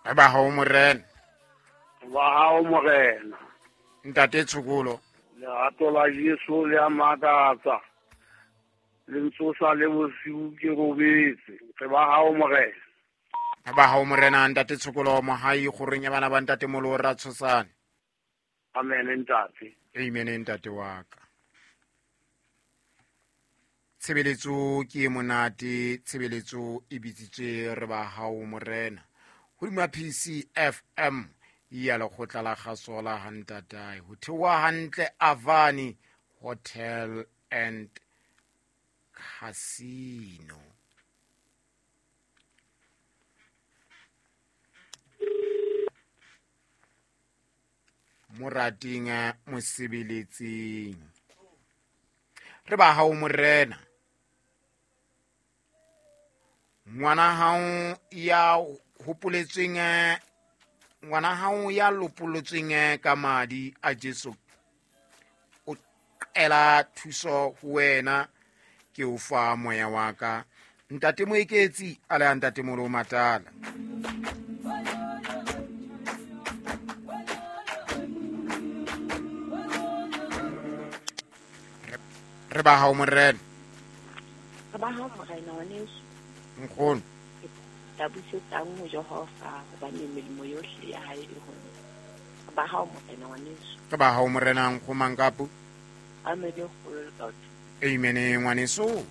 Re ba hao morena. Ba hao morena. Ntate Tshokolo. Lerato la Jesu le a makatsa. Le ntsosa le bosiu ke robetse. Re ba hao morena. Re ba hao morena ntate Tshokolo mohai kgorong ya bana ba ntate Molo ra tshosane. Amen ntate. Amen ntate wa ka. Tshebeletso ke e monate, tshebeletso e bitsitswe re ba hao morena. Hodima PCFM ya lekgotla la kgaso la hantatae. Ho theoha hantle Avani Hotel and Casino. Morating mosebeletsing. Re ba hao morena. Ngwana hao ya hopoletsweng, ngwana hao ya lopolotsweng ka madi a Jesu o qela thuso ho wena, ke o fa moya wa ka. Ntate Moeketsi a le ntate Molo Matala. Re ba hao morena. Re ba hao morena ngwaneso. Nkgono. Tla busetsang ho Jehova hobane melemo yohle ya hae e ho nna. Re ba hao morena ngwaneso. Re ba hao morena nkgomankapu. Amen kgolo le batho. Amen ngwaneso.